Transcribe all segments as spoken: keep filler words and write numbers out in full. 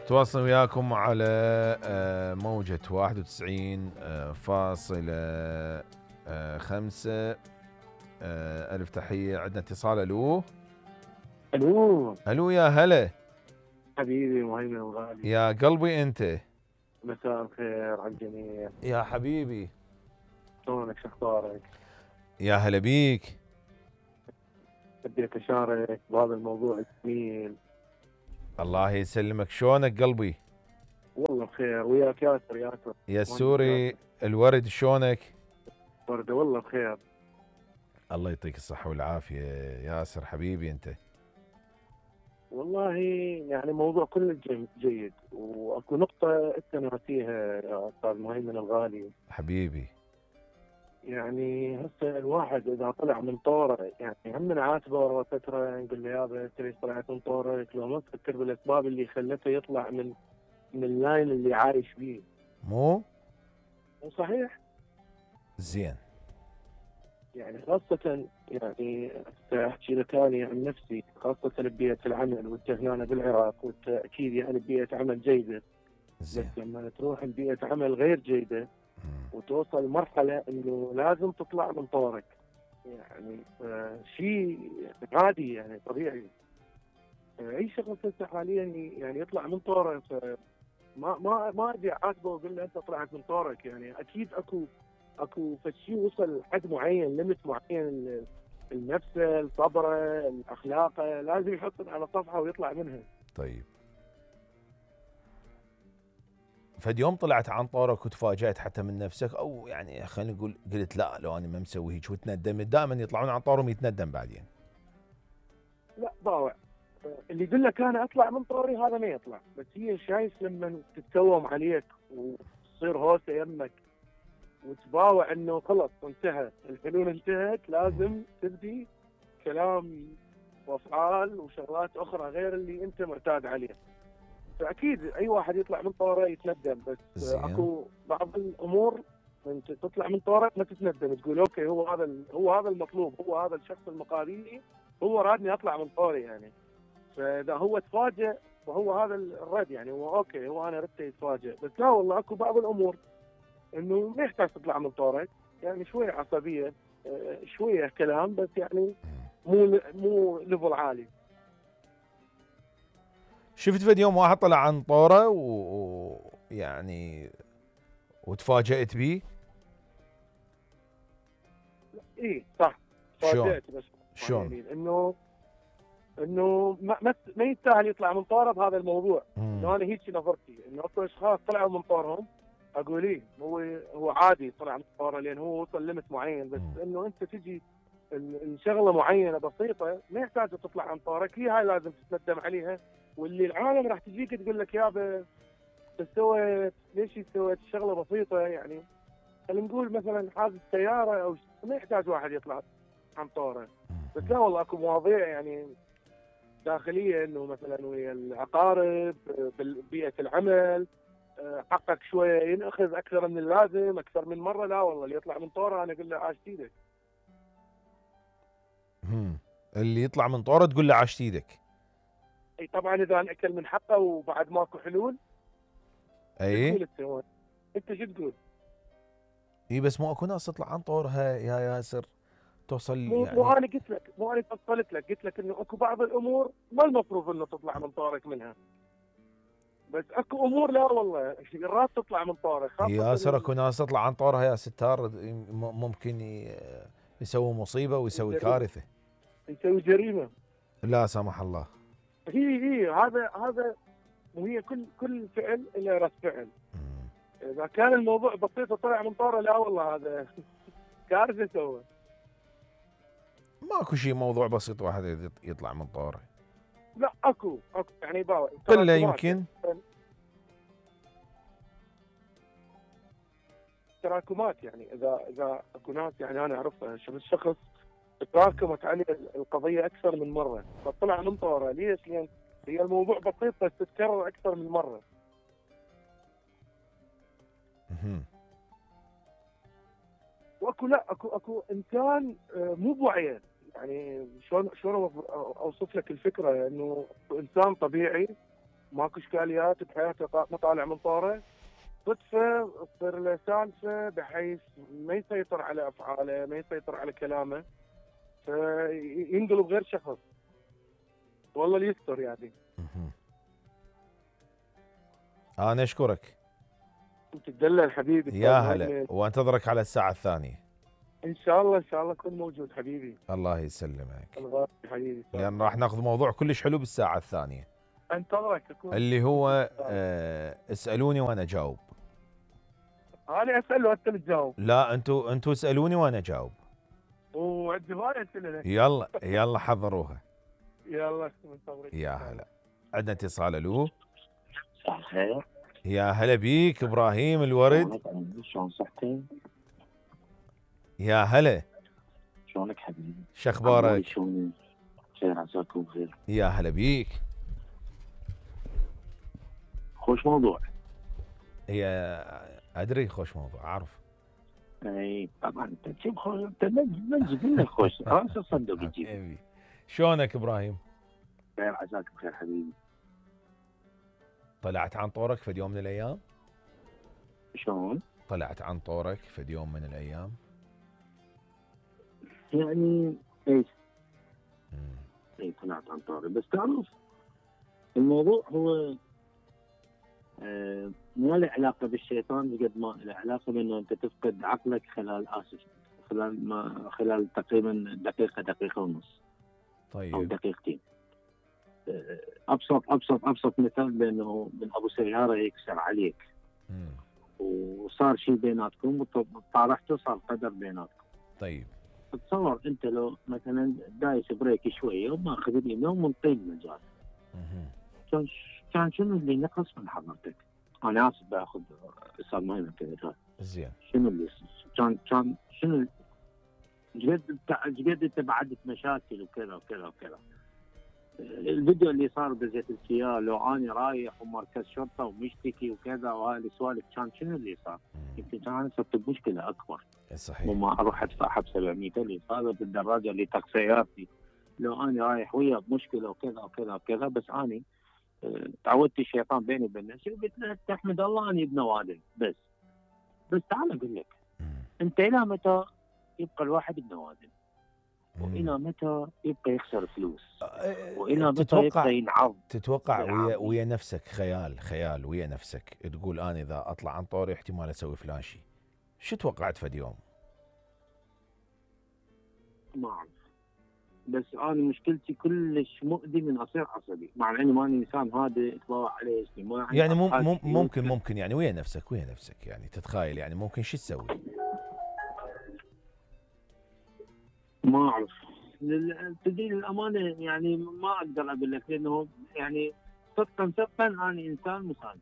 تواصل وياكم على آه، موجة واحد وتسعين آه، فاصلة آه، خمسة. آه، ألف تحية. عندنا اتصال. ألو الو ألو يا هلا حبيبي مهيمن الغالي، يا قلبي أنت. مساء الخير على الجميع. يا حبيبي شلونك؟ شو اخبارك؟ يا هلا بيك. بديت اشارك بهذا الموضوع الجميل. الله يسلمك. شلونك قلبي؟ والله بخير، وياك ياسر ياسر يا السوري الورد شلونك؟ برده والله بخير. الله يعطيك الصحة والعافية ياسر حبيبي أنت. والله يعني موضوع كله جي- جيد، واكو نقطة انت ناسيها يا استاذ مهيمن الغالي. حبيبي يعني هسه الواحد اذا طلع من طوره، يعني هم نعاتبه ورا فتره نقول له يابا انت ليش طلعت من طورك؟ لو ما تفكر بالاسباب اللي خلته يطلع من من اللاين اللي عايش بيه. مو وصحيح زين. يعني خاصة يعني احكي لك اني عن نفسي، خاصة ببيئة العمل، وانت هنا بالعراق وانت اكيد يعني ببيئة عمل جيدة. بس زين. لما تروح لبيئة عمل غير جيدة وتوصل مرحلة انه لازم تطلع من طورك، يعني آه شيء عادي يعني طبيعي. آه اي شخص هسه حاليا يعني يطلع من طوره، ما ما ما ادري اعاتبه واقول له انت طلعت من طورك. يعني اكيد اكو اكو فشي وصل لحد معين، ليمت معين، النفسه، الصبره، الاخلاقه، لازم يحطهم على صفحه ويطلع منها. طيب فد يوم طلعت عن طورك وتفاجأت حتى من نفسك، او يعني خلينا نقول قلت لا لو انا ما مسوي هيك وتندم؟ دائما يطلعون عن طورهم يتندم بعدين. لا باوع، اللي يقول لك انا اطلع من طوري هذا ما يطلع. بس هي شايف لما تتكوم عليك وتصير هوسه يمك وتباوع انه خلص انتهى، الحلول انتهت، لازم تبدي كلام وافعال وشغلات اخرى غير اللي انت معتاد عليه. فاكيد اي واحد يطلع من طوره يتندم، بس زين. اكو بعض الامور انت تطلع من طورك ما تتندم، تقول اوكي هو هذا هو هذا المطلوب، هو هذا الشخص المقابلي هو رادني اطلع من طوري يعني. فاذا هو تفاجئ فهو هذا الرد، يعني هو اوكي هو انا ردت يتفاجئ. بس لا والله اكو بعض الامور انه ما يحتاج تطلع من طورك، يعني شويه عصبيه، شويه كلام، بس يعني مو مو ليفل عالي. شفت فد يوم واحد طلع عن طوره ويعني و... وتفاجأت بيه؟ اي صح، شلون؟ تفاجئت. بس شلون؟ يعني انه انه ما ما ما يستاهل يطلع من طوره بهذا الموضوع. انه انا هيك نظرتي، انه اكو اشخاص طلعوا من طورهم اقول ايه هو هو عادي طلع من طوره لان هو وصل ليمت معين. بس انه انت تجي الشغله معينه بسيطه ما يحتاج تطلع عن طورك، هي هاي لازم تتندم عليها. واللي العالم راح تجيك تقول لك يابا انت سويت ليش سويت شغله بسيطه، يعني خلينا نقول مثلا حادث سياره او ما يحتاج واحد يطلع عن طوره. بس لا والله اكو مواضيع يعني داخليه، انه مثلا ويا العقارب، ببيئه العمل، حقك شويه ينأخذ اكثر من اللازم اكثر من مره. لا والله اللي يطلع من طوره انا اقول له عاش ايدك. امم اللي يطلع من طوره تقول له عاش ايدك. اي طبعا اذا انأكل من حقه وبعد ماكو حلول. اي تقول انت انت شو تقول؟ اي بس مو اكو ناس تطلع عن طورها يا ياسر توصل مو يعني. مو انا قلت لك، مو انا فصلت لك، قلت لك انه اكو بعض الامور ما المفروض انه تطلع من طورك منها. بس اكو امور لا والله مرات تطلع من طورك، خاصه ياسر اكو ناس تطلع عن طورها يا ستار ممكن يسوي مصيبه ويسوي كارثه، يسوي جريمه لا سمح الله. هي هي هذا هذا وهي كل كل فعل له رد فعل. اذا كان الموضوع بسيط وطلع من طوره لا والله هذا كارثه سوى. ماكو شيء موضوع بسيط واحد يطلع من طوره. لا اكو اكو يعني باوع قله يمكن تراكمات. يعني اذا اذا اكو ناس يعني انا اعرفها شخص تراكمت عليه القضيه اكثر من مره فطلع من طوره. ليش؟ لان هي الموضوع بسيط بس تتكرر اكثر من مره. واكو لا اكو اكو انسان مو بوعيه. يعني شلون شلون اوصف لك الفكره؟ انه انسان طبيعي ماكو اشكاليات بحياته، ما طالع من طوره، صدفه تصير له سالفه بحيث ما يسيطر على افعاله، ما يسيطر على كلامه، فينقلب غير شخص. والله اللي يستر يعني. انا اشكرك. تدلل حبيبي. يا هلا، وانتظرك على الساعه الثانيه. ان شاء الله ان شاء الله اكون موجود حبيبي. الله يسلمك. الغالي حبيبي. لان راح ناخذ موضوع كلش حلو بالساعه الثانيه. انتظرك اكون. اللي هو آه اسالوني وانا اجاوب. انا اسال وانت اللي تجاوب. لا انتوا انتوا اسالوني وانا اجاوب. وعندي هوايه اسئله. يلا يلا حضروها. يلا منتظرك. يا هلا. عندنا اتصال. الو. صباح الخير. يا هلا بيك ابراهيم الورد. شلون صحتك؟ يا هلا. شلونك حبيبي؟ شخبارك؟ شلونك؟ خير عساكم بخير. يا هلا بيك. خوش موضوع. هي ادري خوش موضوع اعرف. اي طبعا انت تجيب خوش، انت نجيب لك خوش خلاص الصندوق يجيب. شلونك ابراهيم؟ خير عساك بخير حبيبي. طلعت عن طورك في يوم من الايام؟ شلون؟ طلعت عن طورك في يوم من الايام؟ يعني ايش؟ اي طلعت عن طوري، بس تعرف الموضوع هو آه ما له علاقه بالشيطان قد ما له علاقه بانه انت تفقد عقلك خلال اسف خلال ما خلال تقريبا دقيقه دقيقه ونص. طيب. او دقيقتين. آه ابسط ابسط ابسط مثال بانه من ابو سياره يكسر عليك. مم. وصار شيء بيناتكم وطارحته صار قدر بيناتكم. طيب. تصور انت لو مثلا دايس بريك شويه وماخذ اليمين ومنطي المجال. كان كان شنو اللي نقص من حضرتك؟ انا اسف باخذ استاذ مهم كذا. زين. شنو اللي كان كان شنو جد جد انت بعدت مشاكل وكذا وكذا وكذا. الفيديو اللي صار بزيت الكيا لو اني رايح ومركز شرطه ومشتكي وكذا وهاي السوالف كان شنو اللي صار؟ يمكن كان انا صرت بمشكله اكبر. صحيح. وما اروح ادفع حب سبعمية الف هذا بالدراجه اللي تاكسياتي. لو اني رايح وياه بمشكله وكذا وكذا وكذا، بس اني اه تعودت الشيطان بيني وبين نفسي وقلت له تحمد الله اني ابن وادم بس. بس تعال اقول لك انت الى متى يبقى الواحد ابن وادم؟ والى متى يبقى يخسر فلوس؟ والى متى يبقى ينعض؟ تتوقع ويا ويا نفسك خيال خيال ويا نفسك تقول انا اذا اطلع عن طوري احتمال اسوي فلان شيء. شو توقعت فد يوم؟ ما اعرف، بس انا مشكلتي كلش مؤذي من اصير عصبي، مع اني ماني انسان هادئ اتباوع عليه ما يعني مم مم ممكن ممكن يعني ويا نفسك ويا نفسك يعني تتخيل يعني ممكن شو تسوي؟ ما اعرف تدري الامانه يعني ما اقدر اقول لك، لانه يعني صدقا صدقا انا انسان مسالم.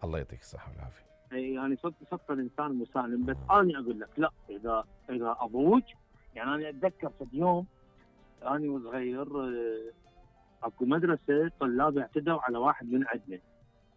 الله يعطيك الصحه والعافيه. يعني صدق صدقا انسان مسالم، بس انا اقول لك لا، اذا اذا ابوك يعني انا اتذكر في يوم اني وصغير اكو مدرسه طلاب اعتدوا على واحد من عندنا.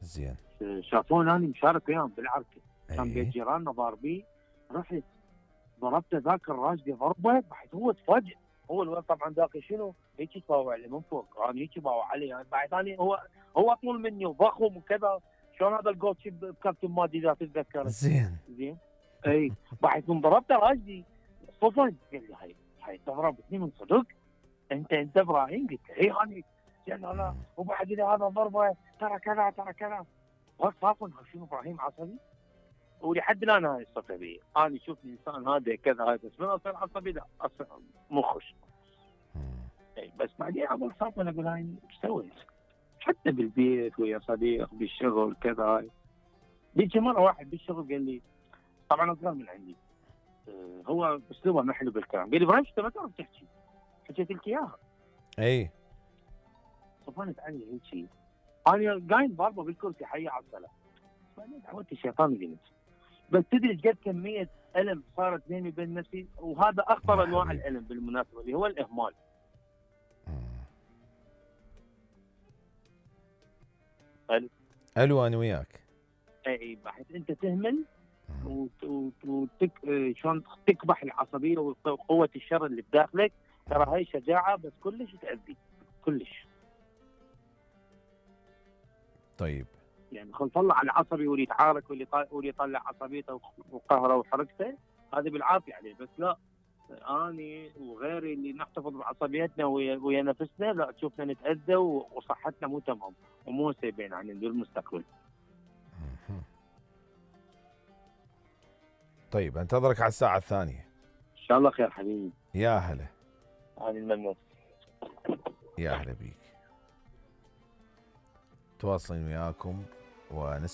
زين. شافوني اني مشارك وياهم بالعركه. كان بيت جيراننا ضاربين، رحت ضربته ذاك الراجل ضربه، بعد هو تفاجئ. هو الولد طبعا ذاك شنو هيك يطاوع لي من فوق، انا هيك باوع علي يعني بعد ثاني هو هو طول مني وضخم وكذا. شلون هذا الجول شيب بكابتن مادي اذا تتذكر. زين زين. اي بعد من ضربته راجلي صفن قال لي هاي هاي ضربتني من صدق؟ انت انت ابراهيم؟ قلت له اي هاني. زين انا وبعد لي هذا ضربه ترى كذا ترى كذا. صافن شنو ابراهيم عصبي؟ ولحد الان هاي الصفه بي، انا شوفني انسان هذا كذا هذا بس من اصير عصبي لا اصير مخش. اي بس بعدين اقول صافن اقول هاي ايش سويت؟ حتى بالبيت ويا صديق بالشغل كذا. هاي بيجي مره واحد بالشغل قال لي طبعا اصغر من عندي، أه هو اسلوبه ما حلو بالكلام، قال لي ابراهيم انت ما تعرف تحكي، حكيت لك اياها. اي صفنت علي هيك انا قايم ضاربه بالكرسي حي على الصلاه. بعدين تعودت الشيطان قلت بس تدري قد كميه الم صارت بيني وبين نفسي، وهذا اخطر انواع الالم بالمناسبه اللي هو الاهمال. الو الو انا وياك. اي بحيث انت تهمل وتك شلون تكبح العصبيه وقوه الشر اللي بداخلك، ترى هاي شجاعه بس كلش تاذي كلش. طيب يعني خل طلع العصبي واللي يتعارك واللي طا... واللي يطلع عصبيته وقهره وحركته هذا بالعافيه عليه. بس لا، اني وغيري اللي نحتفظ بعصبيتنا ويا, ويا نفسنا، لا تشوفنا نتاذى وصحتنا مو تمام ومو سيبين عن المستقبل. طيب انتظرك على الساعه الثانيه ان شاء الله خير حبيبي. يا هلا. انا الممنون. يا هلا بيك. تواصلين وياكم ونسمع